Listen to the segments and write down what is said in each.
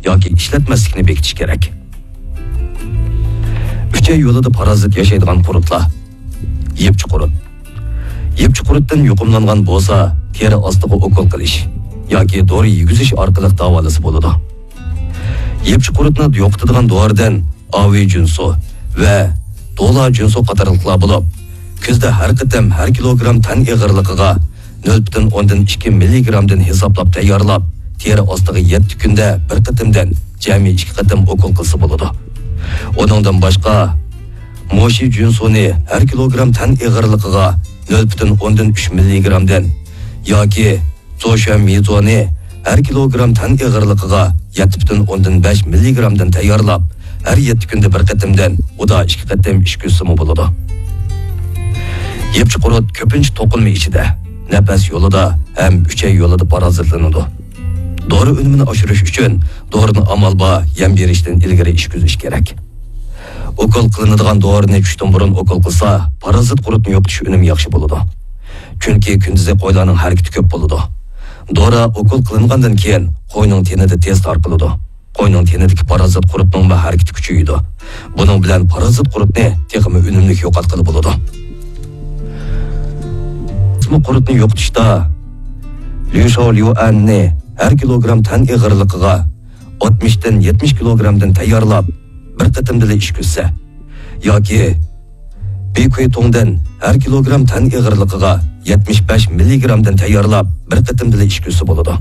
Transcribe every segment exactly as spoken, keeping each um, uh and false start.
ياكى ئىشلەتمەسلىكنى بېكىتىش كېرەك. ئۈچەي يولىدا پارازىت ياشايدىغان قۇرتلار. يىپچى قۇرت. يىپچى قۇرتتىن يۇقۇملانغان بولسا، تېرە ئاستىغا ئوكۇل قىلىش ياكى دورا يېگۈزۈش ئارقىلىق داۋالىسا بولىدۇ. يىپچى قۇرتنى يوقىتىدىغان دورىدىن ئاۋېي جۈنسۇ ۋە دولا جۈنسۇ قاتارلىقلار بولۇپ، كۈزدە ھەر قېتىم ھەر كىلوگرام تەن ئېغىرلىقىغا نۆل پۈتۈن ئوندىن ئىككى مىللىگرامدىن ھېسابلاپ تەييارلاپ، تېرە ئاستىغا يەتتە كۈندە بىر قېتىمدىن جەمئىي ئىككى قېتىم ئوكۇل قىلسا بولىدۇ. ئۇنىڭدىن باشقا، موشى جۈنسۇنى ھەر كىلوگرام تەن ئېغىرلىقىغا نۆل پۈتۈن ئوندىن ئۈچ مىللىگرامدىن ياكى زوشۈەن مىزونى ھەر كىلوگرام تەن ئېغىرلىقىغا يەتتە پۈتۈن ئوندىن بەش مىللىگرامدىن تەييارلاپ، ھەر يەتتە كۈندە بىر قېتىمدىن ئۇدا ئىككى قېتىم ئىچكۈزسىمۇ بولىدۇ. يىپچى قۇرت كۆپىنچە توقۇلما ئىچىدە، نەپەس يولىدا ھەم ئۈچەي يولىدا پارازىتلىنىدۇ. دورا ئۈنۈمىنى ئاشۇرۇش ئۈچۈن دورىنى ئامال بار يەم بېرىشتىن ئىلگىرى ئىچكۈزۈش كېرەك. ئوكۇل قىلىنىدىغان دورىنى چۈشتىن بۇرۇن ئوكۇل قىلسا، پارازىت قۇرتنى يوقىتىش ئۈنۈمى ياخشى بولىدۇ. چۈنكى كۈندۈزى قويلارنىڭ ھەرىكىتى كۆپ بولىدۇ. دورا ئوكۇل قىلىنغاندىن كېيىن قوينىڭ تېنىدە تېز تارقىلىدۇ. قوينىڭ تېنىدىكى پارازىت قۇرتنىڭمۇ ھەرىكىتى كۈچىيىدۇ. بۇنىڭ بىلەن پارازىت قۇرتنى تېخىمۇ ئۈنۈملۈك يوقاتقىلى بولىدۇ. قۇرتنى يوقىتىشتا ليۇشاۋ ليۇئەننى ھەر كىلوگرام تەن ئېغىرلىقىغا ئاتمىشتىن يەتمىش كىلوگرامدىن تەييارلاپ، بىر قېتىمدىلا ئىچكۈزسە ياكى بىكۇيتۇڭدىن ھەر كىلوگرام تەن ئېغىرلىقىغا يەتمىش بەش مىللىگرامدىن تەييارلاپ، بىر قېتىمدىلا ئىچكۈزسە بولىدۇ.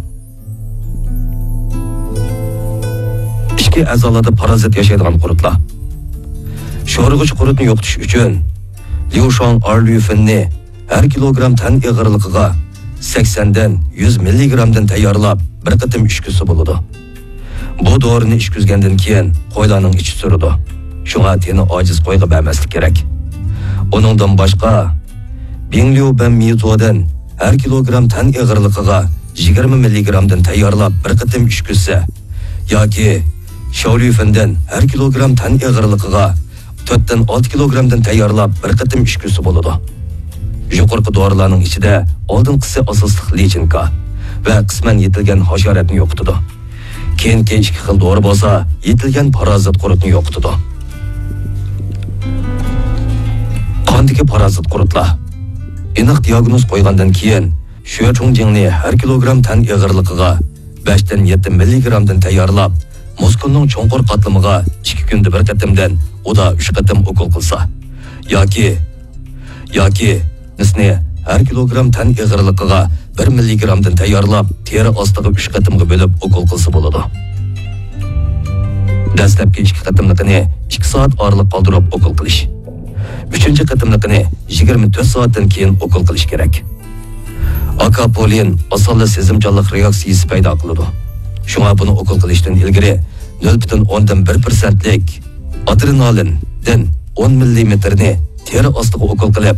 ئىچكى ئەزالاردا پارازىت ياشايدىغان قۇرتلار. شورىغۇچ قۇرتنى يوقىتىش ئۈچۈن ليۇشاڭ ئارليۇفېننى ھەر كىلوگرام تەن ئېغىرلىقىغا سەكسەندىن يۈز مىللىگرامدىن تەييارلاپ، بىر قېتىم ئىچكۈزسە بولىدۇ. بۇ دورىنى ئىچكۈزگەندىن كېيىن قويلارنىڭ ئىچى سۈرىدۇ. شۇڭا تېنى ئاجىز قويغا بەرمەسلىك كېرەك. ئۇنىڭدىن باشقا، بىڭليۇ بەن مىزودىن ھەر كىلوگرام تەن ئېغىرلىقىغا يىگىرمە مىللىگرامدىن تەييارلاپ، بىر قېتىم ئىچكۈزسە ياكى شاۋليۇفېندىن ھەر كىلوگرام تەن ئېغىرلىقىغا تۆتتىن ئالتە كىلوگرامدىن تەييارلاپ، بىر قېتىم ئىچكۈزسە بولىدۇ. يۇقىرىقى دورىلارنىڭ ئىچىدە ئالدىنقىسى ئاساسلىق لىچىنكا ۋە قىسمەن يېتىلگەن ھاشاراتنى يوقىتىدۇ. كېيىنكى ئىككى خىل دورا بولسا يېتىلگەن پارازىت قۇرتنى يوقىتىدۇ. قاندىكى پارازىت قۇرتلار. ئېنىق دىياگنوز قويغاندىن كېيىن، شۈەچۇڭجىڭنى ھەر كىلوگرام تەن ئېغىرلىقىغا بەشتىن يەتتە مىللىگرامدىن تەييارلاپ، مۇسكۇلنىڭ چوڭقۇر قاتلىمىغا ئىككى كۈندە بىر قېتىمدىن ئۇدا ئۈچ قېتىم ئوكۇل قىلسا ياكى، ياكى نىسنى ھەر كىلوگرام تەن ئېغىرلىقىغا بىر مىللىگرامدىن تەييارلاپ، تېرە ئاستىغا ئۈچ قېتىمغا بۆلۈپ ئوكۇل قىلسا بولىدۇ. دەسلەپكى ئىككى قېتىملىقىنى ئىككى سائەت ئارىلىق قالدۇرۇپ ئوكۇل قىلىش. ئۈچىنچى قېتىملىقىنى يىگىرمە تۆت سائەتتىن كېيىن ئوكۇل قىلىش كېرەك. ئاكاپوللىن ئاسانلا سېزىمچانلىق رېئاكسىيىسى پەيدا قىلىدۇ. شۇڭا بۇنى ئوكۇل قىلىشتىن ئىلگىرى نۆل پۈتۈن ئوندىن بىر پىرسەنتلىك ئادرېنالىندىن ئون مىللىمېتىرنى تېرە ئاستىغا ئوكۇل قىلىپ،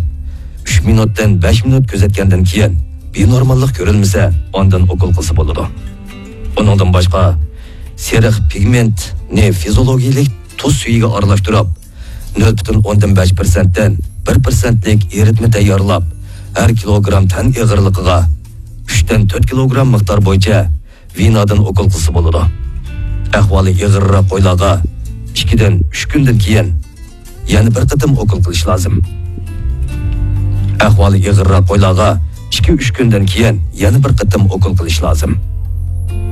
ئۈچ مىنۇتتىن بەش مىنۇت كۆزەتكەندىن كېيىن بىنورماللىق كۆرۈلمىسە، ئاندىن ئوكۇل قىلسا بولىدۇ. ئۇنىڭدىن باشقا، سېرىق پىگمېنتنى فىزىئولوگىيەلىك تۇز سۈيىگە ئارىلاشتۇرۇپ، نۆل پۈتۈن ئوندىن بەش پىرسەنتتىن بىر پىرسەنتلىك ئېرىتمە تەييارلاپ، ھەر كىلوگرام تەن ئېغىرلىقىغا ئۈچتىن تۆت كىلوگرام مىقدار بويىچە ۋېنادىن ئوكۇل قىلسا بولىدۇ. ئەھۋالى ئېغىرراق قويلارغا ئىككىدىن ئۈچ كۈندىن كېيىن يەنە بىر قېتىم ئوكۇل قىلىش لازىم. ئەھۋالى ئېغىرراق قويلارغا ئىككى ئۈچ كۈندىن كېيىن يەنە بىر قېتىم ئوكۇل قىلىش لازىم.